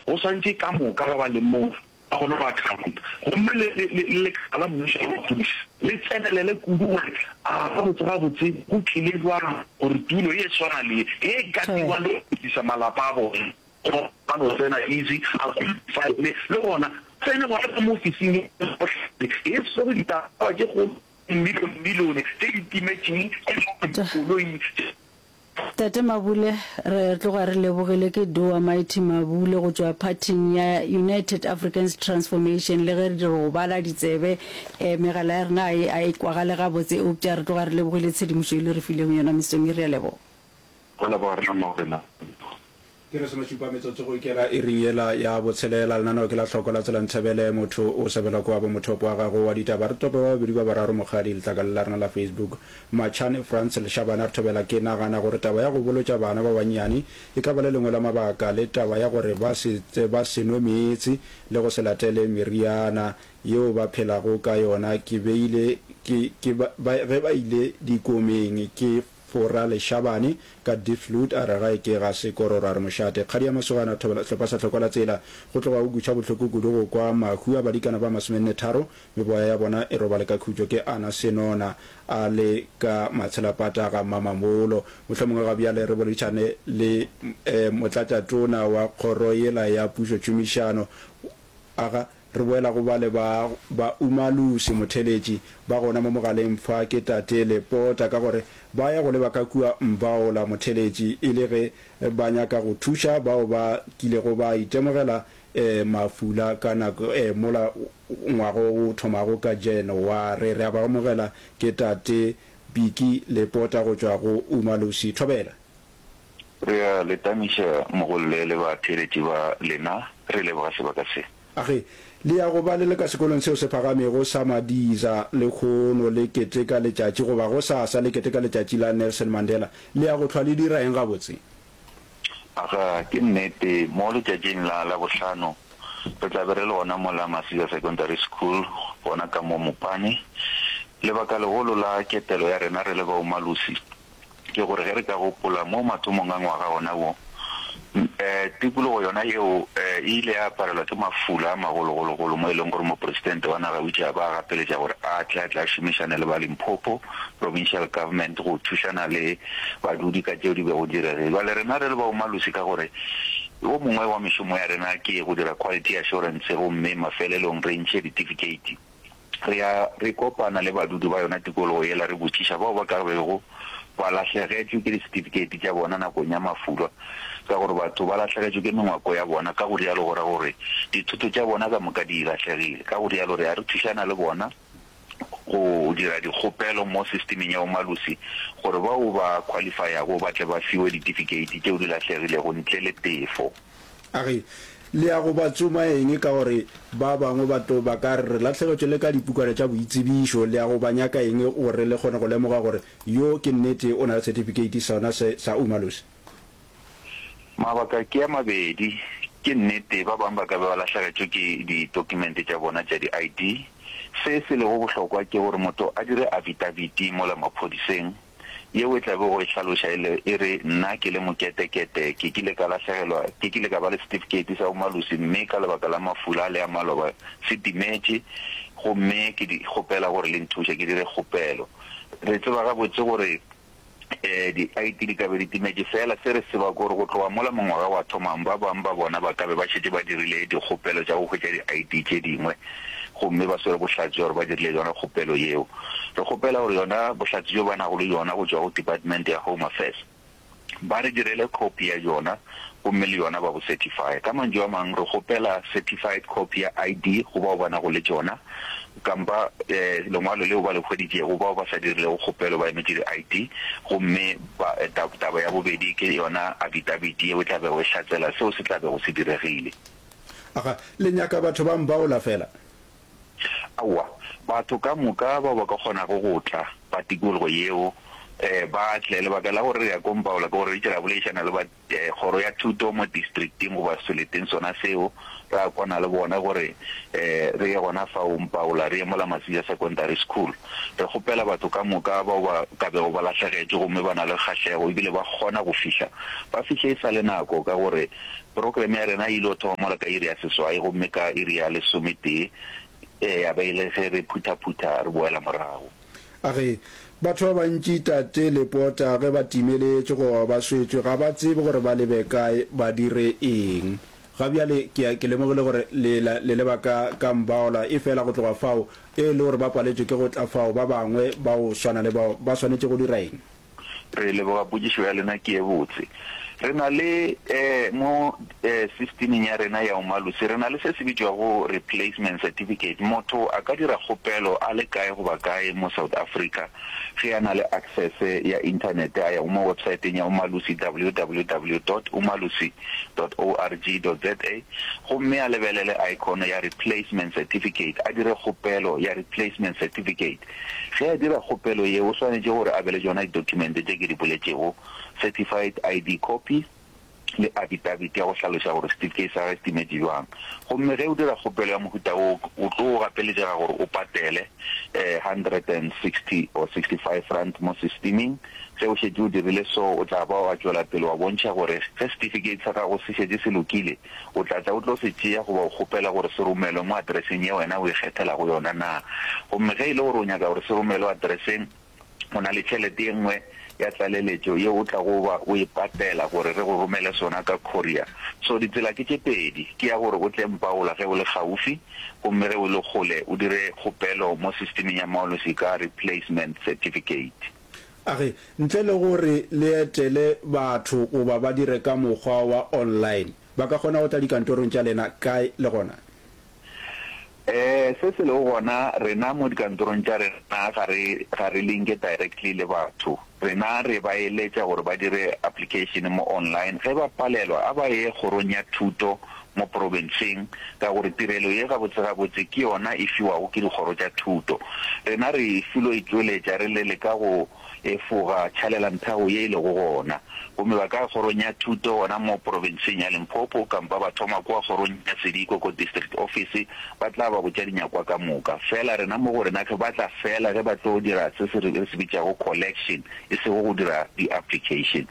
Go swantše ka moka ba ba leng moo ba kgone go accounta. Gomme le, le, le, le lekala la mmušo la maphodisa le tsenelele kudu gore a gabotse gabotse go tlile bjang gore tulo ye swana le ye, ye e katiwa le go fetisa malapa a bona, goba ba no tsena easy, a qualify-le, le gona tsene gona ka mo ofising ye bohlale, e swere ditaba tše kgolo, dimilione-milione tše di timetšeng, tše dikoloi tše. Tate Mabule, re tloga re lebogile ke Dowa Mighty Mabule go tšwa phathing ya United Africans Transformation. Le ge re di robala ditsebe, eh, megala ya rena a e, a e kwagale gabotse, eupša re tloga re lebogile tshedimošo e le re filego yona mesong ye. Re a leboga. Go leboga rena Morena. Ke lesomešupa metsotso go ikela iring yela ya botshelela. Lenaneo ke la Hloko la Tsela Nthebele. Motho o sebelwa ke wa bo mothopo wa gago wa ditaba. Re tope ba babedi ba bararo Mokgadi letlakaleng la rena la Facebook. Machane Frans Leshabane a re thobela Ke nagana gore taba ya go bolotša bana ba bannyane e ka ba le lengwe la mabaka le taba ya gore ba se ba se nwe meetse le go se latele meriana yeo ba phelago ka yona ke beile ke ke ba ge ba ile dikomeng ke Fora Leshabane ka Diepsloot a re gae ke ga Sekororo a re mošate. Kgadi ya masogana a thobela sehlopha sa Hlokwa la Tsela. Go tloga go kweša bohloko kudu go kwa mahu a badikana ba masomennetharo, meboya ya bona e robale ka khutšo ke Ana Senona a le ka Matshelapata ga Mmamamolo. Mohlomongwe ga bjale re boledišane le Motlatšatona wa kgoro yela ya Pušotšhomišano aga Re boela go bale ba, ba Umalusi, motheeletši, ba gona mo mogaleng fa ke Tate Lepota, ka gore ba ya go leba ka kua Mbaola, motheeletši, e le ge ba nyaka go thuša bao ba kilego ba itemogela eh, mafula ka nako eh, mola ngwaga o thomago ka Janaware. Re a ba amogela, ke Tate Biki Lepota go tšwa go Umalusi. Thobela. Re a le tamiša mogolle le batheeletši ba lena, re leboga sebaka se. A ge le ya go ba le le ka sekolong seo se phagamego sa Madiza lehono le keteka letšatši goba gosasa le keteka letšatši la Nelson Mandela, le ya go hlwa le dira eng gabotse? Aga, ke nnete, mo letšatšing la Labohlano re tla be re le gona mola Masiza Secondary School gona ka mo Mopane. Lebaka legolo la ketelo ya rena re le ba Umalusi ke gore ge re ka gopola mo mathomong a ngwaga ona wo, tikologo yona yeo e ile ya aparelwa ke mafula a magologologolo mo e leng gore mopresidente wa naga o itše a ba a gapeletša gore a tle a tle a šomišane le ba Limpopo Provincial Government go thušana le badudi ka tšeo di bego di diregile. Bjale rena re le ba Umalusi ka gore wo mongwe wa mešomo ya rena ke go dira quality assurance gomme mafelelong re ntšhe ditifikeiti. Re ya re kopana le badudi ba yona tikologo yela re botšiša bao ba ka bego ba lahlegetšwe ke disetifikeiti tša bona nakong ya mafulwa, ka gore batho ba lahlegetšwe ke mengwako ya bona, ka go rialo go ra gore dithoto tša bona ka moka di lahlegile. Ka go rialo re ya re thušana le bona go dira dikgopelo mo sistemeng ya Umalusi gore bao ba khwalifayago ba tle ba fiwe ditifikeiti tšeo di lahlegilego ntle le tefo. A re, Le ya go ba tsoma eng? Ka gore ba bangwe ba tlo ba ka re, Re lahlegetšwe le ka dipukwana tša boitsebišo. Le ya go ba nyaka eng gore le kgone go lemoga gore yo ke nnete o na le setifikeiti sona se sa Umalusi? Mabaka ke a mabedi. Ke nnete ba bangwe ba ka be ba lahlegetšwe ke ditokumente tša bona tša di-ID. Se se lego bohlokwa ke gore motho a dire afidabiti mola maphodiseng. Yeo e tla bego e hlaloša e le, e re, Nna ke le moketekete, ke kile ka lahlegelwa, ke kile ka ba le setifikeiti sa bomalusi, mme ka lebaka la mafula a le a maloba se timetše, gomme ke di kgopela gore le nthuše ke dire kgopelo. Re tseba gabotse gore di-ID di ka be di timetše, feela se re se tseba ke gore go tloga mola mongwaga wa thomang, ba bangwe ba bona ba ka be ba šetše ba dirile dikgopelo tša go hwetša di-ID tše dingwe. gomme ba swere bohlatse bja gore ba dirile yona kgopelo yeo. Re kgopela gore yona bohlatse bjo ba nago le bjona go tšwa go Department ya Home Affairs ba re direle copy ya bjona gomme le yona ba bo certifye. Ka mantšu a mang, re kgopela certified copy ya ID go bao ba nago le tšona kampa lengwalo leo ba le hweditšego bao ba sa dirilego kgopelo ba emetše di-ID gomme ba, taba ya bobedi ke yona affidavit yeo e tla bego e hlatsela seo se tla bego se diregile. Aga, le nyaka batho ba mbaola fela? Aowa, batho ka moka bao ba ka kgonago go tla ba tikologo yeo, ba tle. Lebaka la gore re ya ko Mbaola ke gore re itše ra boledišana le ba kgoro ya thuto mo districting goba seleteng sona seo, ra kwana le bona gore re ye gona fao Mbaola, re ye mola Masija Secondary School. Re kgopela batho ka moka bao ba ka bego ba lahlegetšwe gomme ba na le kgahlego ebile ba kgona go fihla, ba fihle e sa le nako ka gore. Programme ya rena e ile go thoma mola ka iri ya seswai gomme ka iri ya lesometee ya ba e le ge re phuthaphutha re boela morago. A re, Batho ba bantši Tate Lepota ge ba timeletše goba ba swetšwe ga ba tsebe gore ba lebe kae ba dire eng. Ga bjale ke, ke lemogile gore le, le leba ka, ka Mbaola, efela go tloga fao, e le gore ba paletšwe ke go tla fao, ba bangwe ba go swana le bao ba swanetše go dira eng? Re leboga potšišo ya lena, ke ye botse. Re na le mo systemeng ya rena ya Umalusi, re na le se se bitšwago replacement certificate. Motho a ka dira kgopelo a le kae goba kae mo South Africa ge a na le access ya internet, a ya mo websiteng ya Umalusi, www dot umalusi dot org dot za, gomme a lebelele icon ya replacement certificate, a dire kgopelo ya replacement certificate. Ge a dira kgopelo ye, o swanetše gore a be le tšona ditokumente tše ke di boletšego, certified ID copy le affidavit ya go hlaloša gore setifikeiti sa gagwe se timetše bjang. Gomme ge o dira kgopelo ya mohuta wo, o tlo gapeletšega gore o patele 160 or 65 rand mo systeming. Ge o šetše o dirile so, o tla ba wa tšwela pele wa bontšha gore ge setifikeiti sa gago se šetše se lokile, O tla tla o tlo se tšea goba o kgopela gore se romelwe mo atereseng ye wena o ikgethelago yona na? Gomme ge e le gore o nyaka gore se romelwe atereseng, go na le tšhelete ye nngwe ya tlaleletšo yeo o tlago ba o e patela gore re go romele sona ka courier. So ditsela ke tše pedi, ke ya gore o tle Mpaola ge o le kgaufi, gomme ge o le kgole o dire kgopelo mo systemeng ya Maolosi ka replacement certificate. A re, Ntle le gore le etele batho goba ba dire ka mokgwa wa online, ba ka kgona go tla dikantorong tša lena kae le gona? Se se lego gona, rena mo dikantorong tša rena ga re, ga re linke directly le batho. Rena re ba eletša gore ba dire application mo online. Ge ba palelwa, a ba ye kgorong ya thuto mo profenseng, ka gore tirelo ye gabotse-gabotse ke yona e fiwago ke dikgoro tša thuto. Rena re filo e tšweletša re le leka go efoga tšhalelanthako ye e lego gona. Gomme ba ka ya kgorong ya thuto gona mo profenseng ya Limpopo, kampa ba thoma kua kgorong ya Sediko ko district office, ba tla ba botša dinyakwa ka moka. Fela rena mo go rena ge ba tla fela ge ba tlo dira se se re se bitšago collection, e sego go dira di-application.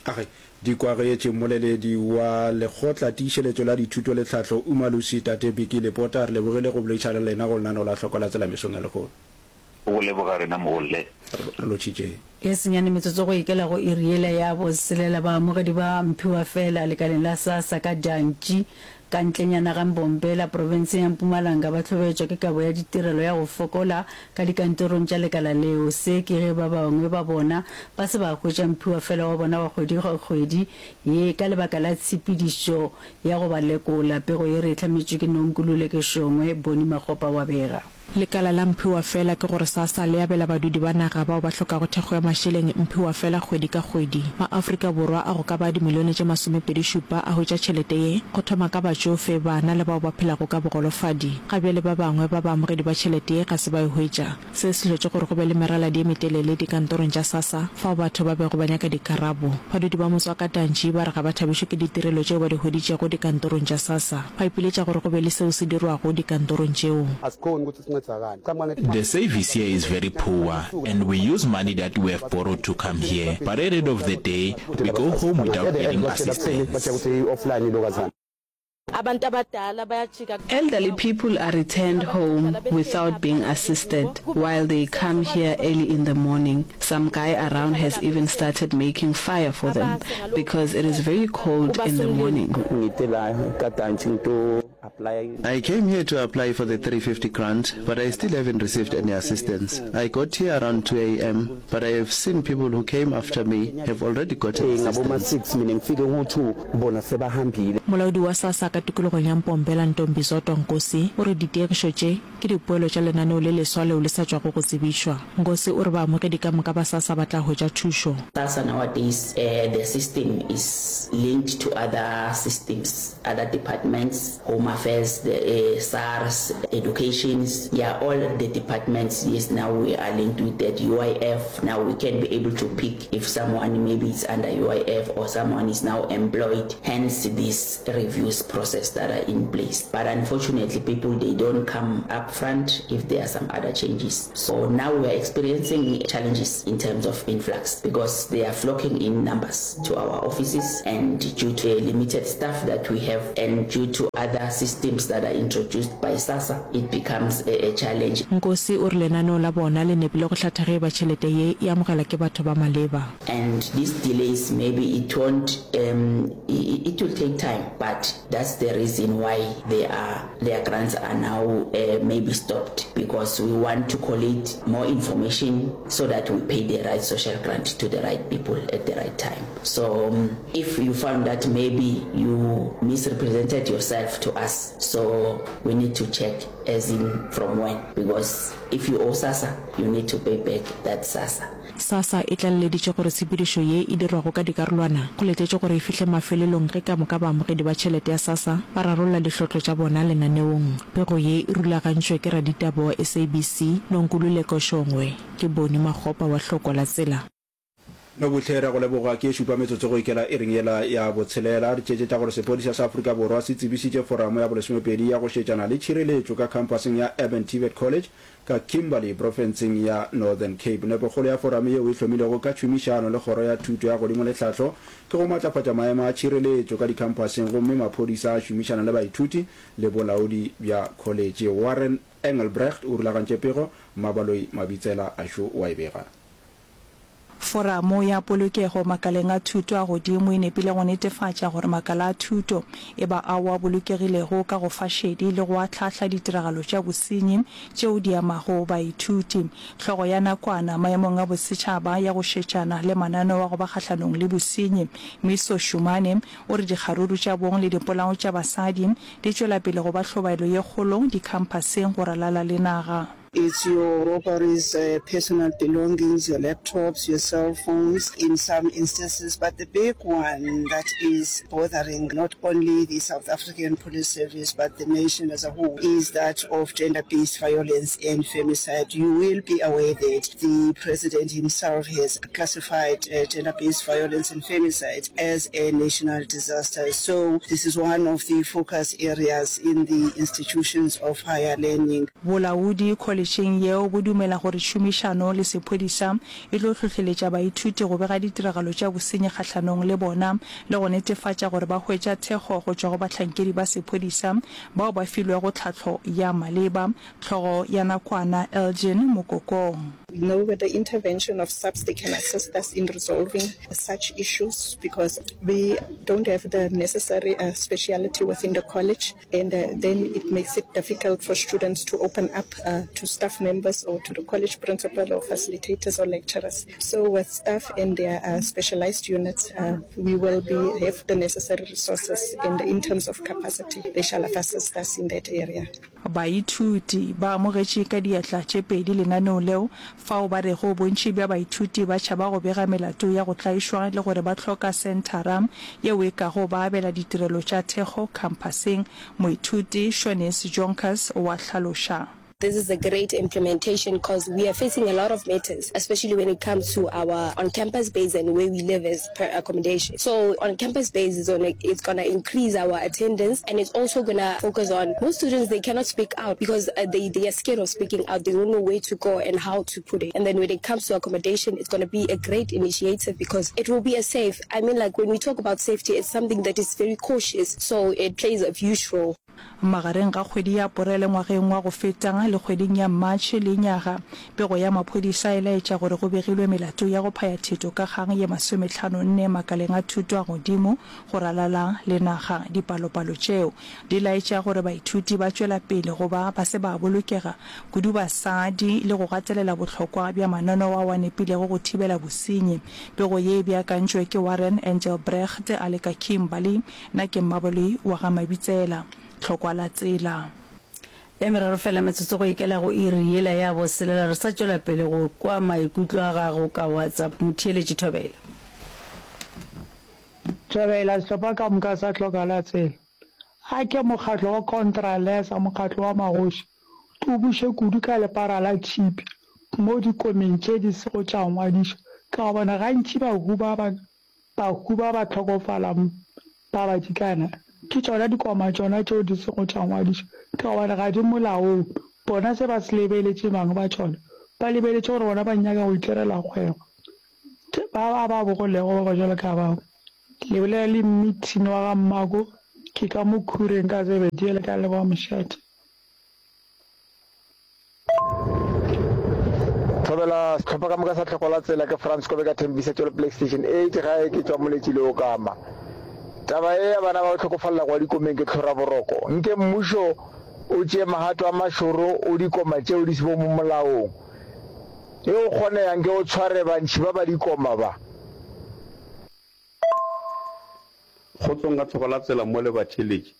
A re, Di kwagetše mmoleledi wa Lekgotla Tiišeletšo la Dithuto le Tlhahlo Umalusi Tate Biki Lepota, re lebogile go boledišana le lena go lenaneo la Hloko la Tsela mesong ya lehono. Go leboga rena mogolle. Re lotšhitše. Ye senyane metsotso go ikela go iri yela ya boselela, baamogedi ba mphiwafela lekaleng la SASSA ka Dantši, ka ntlenyana ga Mbombela, profenseng ya Mpumalanga ba hlobaetšwa ke kabo ya ditirelo ya go fokola ka dikantorong tša lekala leo. Se ke ge ba bangwe ba bona ba se ba hwetša mphiwafela wa bona wa kgwedi kgwedi ye ka lebaka la tshepedišo ya go ba lekola. Pego ye re e hlametšwe ke Nonkululeko Shongwe, Bonnie Makgopa wa bega. Lekala la Mphiwafela ke gore SASSA le abela badudi ba naga bao ba hlokago thekgo ya mašeleng mphiwafela kgwedi ka kgwedi. Ma-Afrika Borwa a go ka ba dimilione tše masomepedi-šupa a hwetša tšhelete ye, go thoma ka batšofe, bana le bao ba phelago ka bogolofadi. Ga bjale ba bangwe ba baamogedi ba tšhelete ye ga se ba e hwetša. Se se hlotše gore go be le meraladi ye metelele dikantorong tša SASSA fao batho ba bego ba nyaka dikarabo. Badudi ba motse wa Katantši ba re ga ba thabišwe ke ditirelo tšeo ba di hweditšego dikantorong tša SASSA. Ba ipiletša gore go be le seo se dirwago dikantorong tšeo. The service here is very poor and we use money that we have borrowed to come here but at end of the day we go home without getting assistance. Elderly people are returned home without being assisted while they come here early in the morning. Some guy around has even started making fire for them because it is very cold in the morning. I came here to apply for the 350 grant, but I still haven't received any assistance. I got here around 2 am, but I have seen people who came after me have already gotten assistance. Molaodi wa SASSA ka tikologong ya Mpombela Ntombizodwa Nkosi o re ditiegišo tše ke dipoelo tša lenaneo le leswa leo le sa tšwago go tsebišwa. Nkosi o re baamogedi ka moka ba SASSA ba tla hwetša thušo. SASSA nowadays their system is linked to other systems, other departments, Home. Affairs, the uh, SARS, educations, yeah, all the departments, yes, now we are linked with that UIF. Now we can be able to pick if someone maybe is under UIF or someone is now employed. Hence this reviews process that are in place. But unfortunately, people, they don't come up front if there are some other changes. So now we are experiencing challenges in terms of influx because they are flocking in numbers to our offices and due to a limited staff that we have and due to other systems that are introduced by SASSA, it becomes a, a challenge. Nkosi o re lenaneo la bona le nepile go hlatha ge e ba tšhelete ye e amogelwa ke batho ba maleba. And these delays maybe it won't um, it will take time but that's the reason why they are, their grants are now uh, maybe stopped because we want to collate more information so that we pay the right social grant to the right people at the right time. So um, if you found that maybe you misrepresented yourself to us, so we need to check as in from when because if you owe SASSA, you need to pay back that SASSA. SASSA e tlaleleditše gore tshepedišo ye e dirwago ka dikarolwana go letetšwe gore e fihle mafelelong ge ka moka baamogedi ba tšhelete ya SASSA ba rarolla dihlotlo tša bona lenaneong. Pego ye e rulagantšwe ke raditaba wa SABC, Nonkululeko Shongwe. Ke Boni Makgopa wa Hloko la Tsela. Nobuhle, Re a go leboga. Ke e šupa metsotso go ikela iring yela ya botshelela. Re tšeetše tša gore sephodisa sa Afrika Borwa se tsebišitše foramo ya bolesomepedi ya go šetšana le tšhireletšo ka khamphaseng ya Urban TVET College ka Kimberley profenseng ya Northern Cape. Nepokgolo ya foramo yeo e hlomilwego ka tšhomišano le Kgoro ya Thuto ya Godimo le Tlhahlo ke go matlafatša maemo a tšhireletšo ka dikhamphaseng gomme maphodisa a šomišana le baithuti le bolaodi bja kholetše. Warren Engelbrecht o rulagantše pego, Mmabaloi Mabitsela a šo o a e bega. Foramo ya Polokego Makaleng a Thuto a Godimo e nepile go netefatša gore makala a thuto e ba ao a bolokegilego ka go fa šedi le go ahlaahla ditiragalo tša bosenyi tšeo di amago baithuti. Hlogo ya nakwana maemong a bosetšhaba ya go šetšana le mananeo a go ba kgahlanong le bosenyi, Miso Shumane, o re dikgaruru tša bong le dipolao tša basadi di tšwela pele go ba hlobaelo ye kgolo dikhamphaseng go ralala le naga. It's your robberies, personal belongings, your laptops, your cell phones in some instances, but the big one that is bothering not only the South African Police Service but the nation as a whole is that of gender-based violence and femicide. You will be aware that the president himself has classified gender-based violence and femicide as a national disaster. So this is one of the focus areas in the institutions of higher learning. Bolaodi kholetšheng yeo bo dumela gore tšhomišano le sephodisa e tlo hlohleletša baithuti go bega ditiragalo tša bosenyi kgahlanong le bona le go netefatša gore ba hwetša thekgo go tšwa go bahlankedi ba sephodisa bao ba filwego tlhahlo ya maleba. Hlogo ya nakwana Elgin Mokokong. We know with the intervention of SAPS they can assist us in resolving such issues because we don't have the necessary speciality within the college and then it makes it difficult for students to open up to staff members or to the college principal or facilitators or lecturers. So with staff and their specialized units we will be have the necessary resources and in terms of capacity they shall assist us in that area. Baithuti ba amogetše ka diatla tše pedi lenaneo leo, fao ba rego bontši bja baithuti ba tšhaba go bega melato ya go tlaišwa le gore ba hloka senthara yeo e kago ba abela ditirelo tša thekgo khamphaseng, moithuti Shanice Jonkers o a hlaloša. This is a great implementation cause we are facing a lot of matters especially when it comes to our on campus base and where we live as per accommodation. So on campus base is on it's gonna increase our attendance and it's also gonna focus on most students they cannot speak out because uh, they, they are scared of speaking out. They don't know where to go and how to put it. And then when it comes to accommodation, it's gonna be a great initiative because it will be a safe. I mean like when we talk about safety, it's something that is very cautious. So it plays a huge role. Magareng ga kgwedi ya Aporele ngwageng wa go feta le kgweding ya Matšhe lenyaga, pego ya maphodisa e laetša gore go begilwe melato ya go phaya theto ka kgang ye masometlhanonne makaleng a thuto a godimo go ralala le naga. Dipalopalo tšeo di laetša gore baithuti ba tšwela pele go ba ba se ba bolokega, kudu basadi, le go gatelela bohlokwa bja mananeo ao a nepilego go thibela bosenyi. Pego ye e beakantšwe ke Warren Engelbrecht a le ka Kimberley. Nna ke Mmaboloi wa ga Mabitsela, Tlhokwa la tsela. E meraro fela metsotso go ikela go iri yela ya boselela. Re sa tšwela pele go kwa maikutlo a gago ka WhatsApp. Motheeletši Thobela. Thobela, Sehlopha ka moka sa Tlhokwa la tsela. A ke mokgatlo wa Contralesa, mokgatlo wa magoši, o buše kudu ka lepara la tšhipi mo dikomeng tše di sego tša ngwadišwa, ka gobane gantši bahu ba ba bahu ba ba hlokofala ba badikana. Ke tšona dikoma tšona tšeo di sego tša ngwadišwa, ka gobane ga di molaong. Bona se ba se lebeletše bang ba tšona? Ba lebeletše gore bona ba nyaka go itirela kgwebo. Ba ba ba bogolego ba ba bjalo ka bao. Le bolela le mmithini wa ga mmako, ke ka mo khureng ka Zebedee le ka leboga mošate. Thobela sehlopha ka moka sa Tlhoko la Tsela ke Frans Kobe ka Thembisa Tšwelo Play Station 8 gae ke tšwa Moletši le Okama. Taba ye ya bana ba go hlokofalela kwa dikomeng ke tlhora boroko. Nke mmušo o tšee magato a mašoro o dikoma tšeo di sego mo molaong. Ge o kgonega nke o tshware bantši ba ba dikoma ba. Kgotsong ka tlhoko la tsela mo le batheeletši.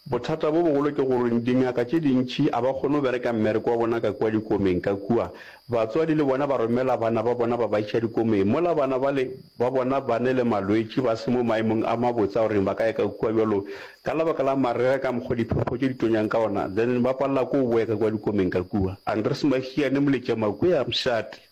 Bothata bo bogolo ke gore dingaka tše dintši a ba kgone go bereka mmereko wa bona ka kua dikomeng ka kua. Batswadi le bona ba romela bana ba bona ba ba iša dikomeng mola bana bale ba bona ba ne le malwetši ba se mo maemong a mabotse a goreng ba ka ya ka kua bjalo ka lebaka la marega ka mokgo diphefo tše di tonyang ka ona then ba palela ke go boya ka kua dikomeng ka kua. Andres Mahiane Moletšamakwea Mshate.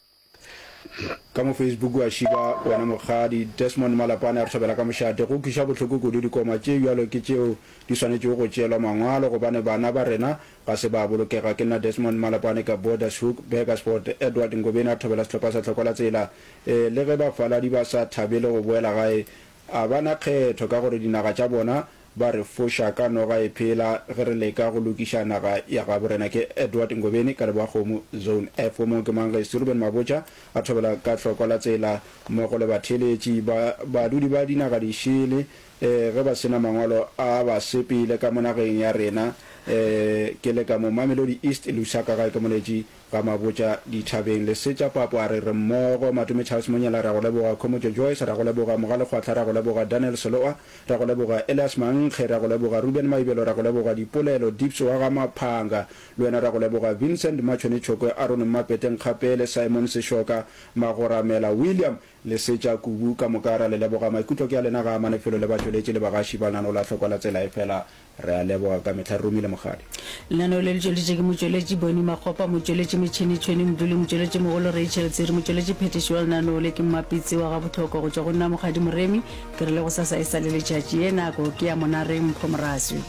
Ka mo Facebook wa šiba wena mokgadi Desmond Malapane a re thobela ka mošate. Go kwiša bohloko kudu dikoma tše bjalo ke tšeo di swanetšego go tšeelwa mangwalo gobane bana ba rena ga se ba bolokega. Ke nna Desmond Malapane ka Bordershoek, Burgersfort. Edward Ngobeni a thobela sehlopha sa Tlhoko la Tsela. Ee, le ge bafaladi ba sa thabele go boela gae, a ba na kgetho ka gore dinaga tša bona Ba re foša ka noga e phela ge re leka go lokiša naga ya gabo rena. Ke Edward Ngobeni ka Leboakgomo, Zone F. Wo mongwe ke mang ge Ruben Mabotja a thobela ka hloko la tsela mmogo le batheeletši ba badudi ba dinaga dišele ge ba se na mangwalo a ba sepele ka mo nageng ya rena. Ke le ka mo Mamelodi East, Lusaka gae ke Moletši Ga Mabotja dithabeng. Lesetša Papo a re re mmogo. Matome Charles Monyela ra go leboga. Khomotšo Joyce ra go leboga. Mogale Kgwahla ra go leboga. Daniel Seloa ra go leboga. Elias Mankge ra go leboga. Ruben Maibelo ra go leboga. Dipolelo Dips wa ga Maphanga le wena ra go leboga. Vincent Machone Tšhokwe, Aaron Mmapete Nkgapele, Simon Seshoka, Magoramela William Lesetša Kubu ka moka ra le leboga. Maikutlo ke a lena ga a amane felo le batšweletši le bagaši ba lenaneo la Hlokwa la Tsela efela Re a leboga ka mehla re romile Mokgadi. Lenaneo le le tšweleditše ke motšweletši Bonnie Makgopa, motšweletši metšhene Tšhweni Mdluli, motšweletši mogolo Rachel Tsiri, motšweletši phethiši wa lenaneo le ke Mmapitsi wa Gabohlokwa. Go tšwa go nna Mokgadi Moremi, ke re le gosasa e sa le letšatši. Ye nako ke ya Monareng Mpho Moraswi.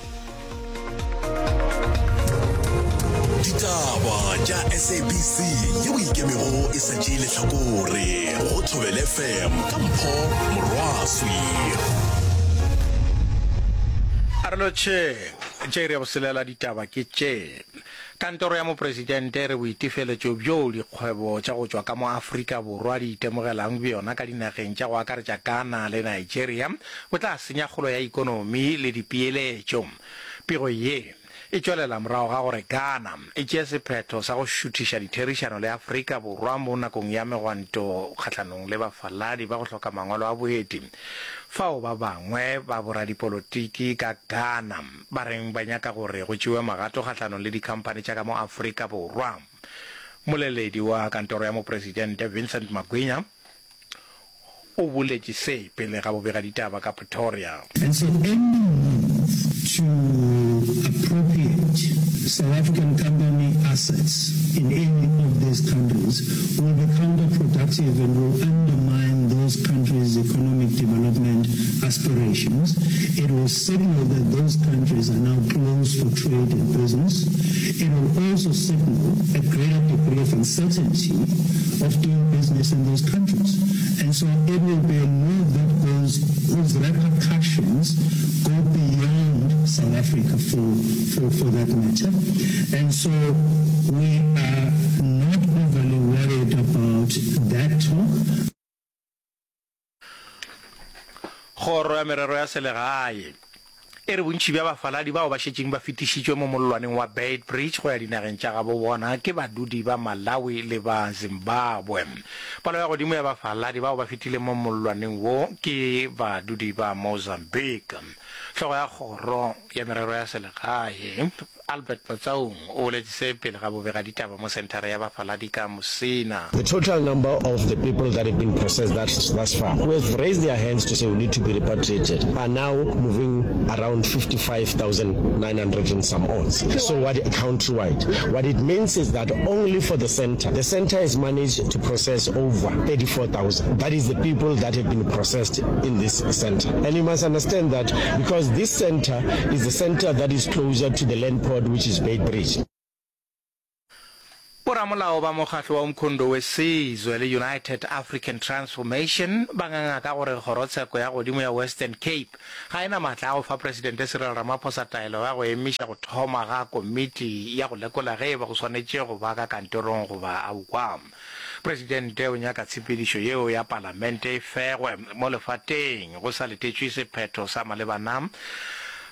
Ditaba tša SABC yeo e ikemego e sa tšee lehlakore go Thobela FM ka Mpho Morwaswi. A re lotšheng. Tše iri ya boselela ditaba ke tše. Kantoro ya Mopresidente e re boitefeletšo bjoo dikgwebo tša go tšwa ka mo Afrika Borwa di itemogelang bjona ka dinageng tša go akaretša Ghana le Nigeria bo tla senya kgolo ya ikonomi le dipeeletšo. Pego ye e tšwelela morago ga gore Ghana e tšee sephetho sa go šuthiša ditherišano le Afrika Borwa mo nakong ya megwanto kgahlanong le bafaladi ba go hloka mangwalo a boeti, fao ba bangwe ba boradipolotiki ka Ghana ba reng ba nyaka gore go tšewe magato kgahlanong le dikhamphani tša ka mo Afrika Borwa. Moleledi wa kantoro ya Mopresidente Vincent Magwinya o boletše se pele ga bobegaditaba ka Pretoria. And so any move to appropriate South African company assets in any of these countries will be counterproductive and will undermine those countries' economic development aspirations. It will signal that those countries are now closed for trade and business. It will also signal a greater degree of uncertainty of doing business in those countries. And so it will be a move that goes, whose repercussions go beyond South Africa for, for, for that matter. And so we are not overly worried about that talk. Kgoro ya Merero ya Selegae e re bontši bja bafaladi bao ba šetšeng ba fetišitšwe mo mollwaneng wa Beitbridge go ya dinageng tša gabo bona ke badudi ba Malawi le ba Zimbabwe. Palo ya godimo ya bafaladi bao ba fetileng mo mollwaneng wo ke badudi ba Mozambique. Hlogo ya Kgoro ya Merero ya Selegae, Albert Motaung o boletše se pele ga bobegaditaba mo senthara ya bafaladi ka Musina. The total number of the people that have been processed thus, thus far, who have raised their hands to say we need to be repatriated, are now moving around 55,900 and some odds. So what countrywide, what it means is that only for the center, the center has managed to process over 34,000. That is the people that have been processed in this center. And you must understand that because this center is the center that is closer to the land port which is Beitbridge. Boramolao ba mokgatlo wa Umkhonto we Sizwe le United African Transformation ba nganga ka gore kgorotsheko ya godimo ya Western Cape ga e na maatla a go fa Presidente Cyril Ramaphosa taelo ya go emiša go thoma ga komiti ya go lekola ge e ba go swanetše go ba ka kantorong goba aowa. Presidente o nyaka tshepedišo yeo ya palamente e fegwe mo lefateng go sa letetšwe sephetho sa malebana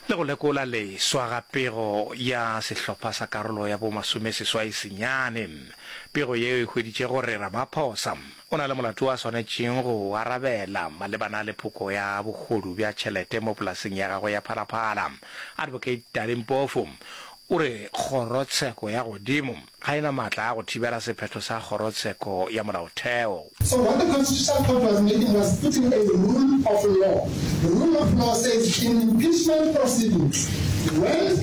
le go lekola leswa ga pego ya sehlopha sa karolo ya bo masomeseswai senyane. Pego yeo e hweditše gore Ramaphosa o na le molato wo a swanetšeng go o arabela malebana le phoko ya bohodu bja tšhelete mo polaseng ya gagwe ya Phalaphala. Advocate Dali Mpofu o re kgorotsheko ya godimo ga e na maatla a go thibela sephetho sa Kgorotsheko ya Molaotheo. So what the Constitutional Court was making was putting a rule of law. The rule of law says in impeachment proceedings, when,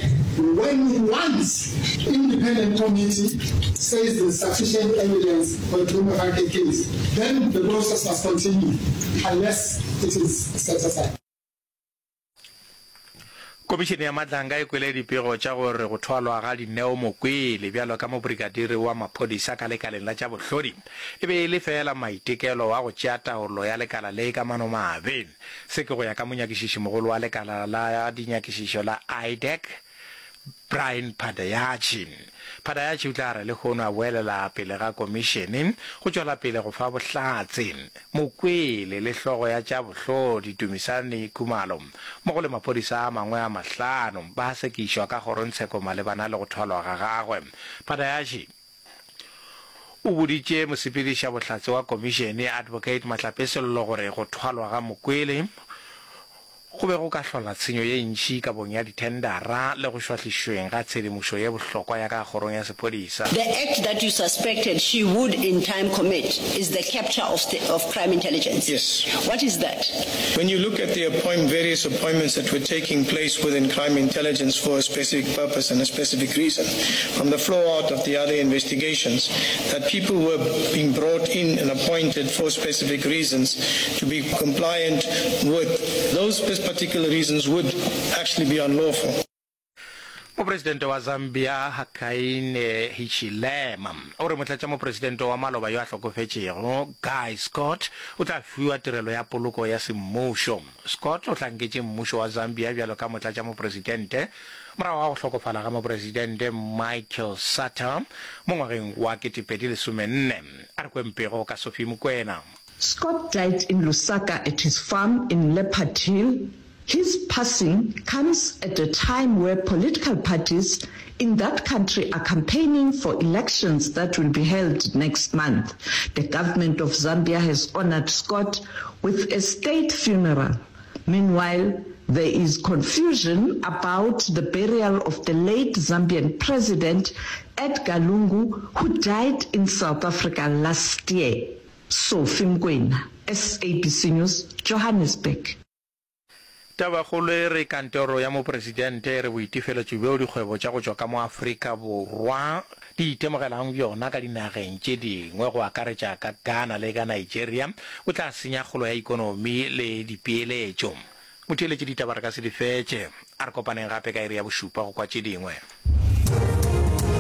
when once independent committee says there's sufficient evidence for a prima facie case, then the process must continue unless it is set aside. Komišene ya Matlanga e kwele dipego tša gore go thwalwa ga Dineo Mokwele bjalo ka mobrikadiri wa maphodisa ka lekaleng la tša bohlodi e be e le feela maitekelo a go tšea taolo ya lekala le ka manomabe. Se ke go ya ka monyakišišimogolo wa lekala la dinyakišišo la IDAC, Brian Padayachy. Padayachy o tla re lehono a boelela pele ga komišene go tšwela pele go fa bohlatse. Mokwele le hlogo ya tša bohlodi Dumisani Khumalo mmogo le maphodisa a mangwe a mahlano ba sekišwa ka kgorongtsheko malebana le go thwalwa ga gagwe. Padayachy o boditše mosepedišabohlatse wa komišene Advocate Matlape Sello gore go thwalwa ga Mokwele Go be go ka hlola tshenyo ye ntši kabong ya dithendara le go šwahlišweng ga tshedimošo ye bohlokwa ya ka kgorong ya sephodisa. The act that you suspected she would in time commit is the capture of of crime intelligence. Yes. What is that? When you look at the appoint various appointments that were taking place within crime intelligence for a specific purpose and a specific reason, from the flow out of the other investigations, that people were being brought in and appointed for specific reasons to be compliant with those particular reasons would actually be unlawful. Mopresidente wa Zambia Hakainde Hichilema o re motlatšamopresidente wa maloba yo a hlokofetšego Guy Scott o tla fiwa tirelo ya poloko ya semmušo. Scott o hlanketše mmušo wa Zambia bjalo ka motlatšamopresidente morago ga go hlokofala ga mopresidente Michael Sata mo ngwageng wa 2014. A re kweng pego ka Sophie Mokoena. Scott died in Lusaka at his farm in Leopard Hill. His passing comes at a time where political parties in that country are campaigning for elections that will be held next month. The government of Zambia has honored Scott with a state funeral. Meanwhile, there is confusion about the burial of the late Zambian president Edgar Lungu, who died in South Africa last year. Sophie Mokoena, SABC News, Johannesburg. Tabakgolo e re Kantoro ya Mopresidente e re boitefeletšo bjo dikgwebo tša go tšwa ka mo Afrika Borwa di itemogelang bjona ka dinageng tše dingwe go akaretša ka Ghana le ka Nigeria bo tla senya kgolo ya ikonomi le dipeeletšo. Motheeletši ditaba re ka se di fetše. A re kopaneng gape ka iri ya bošupa go kwa tše dingwe.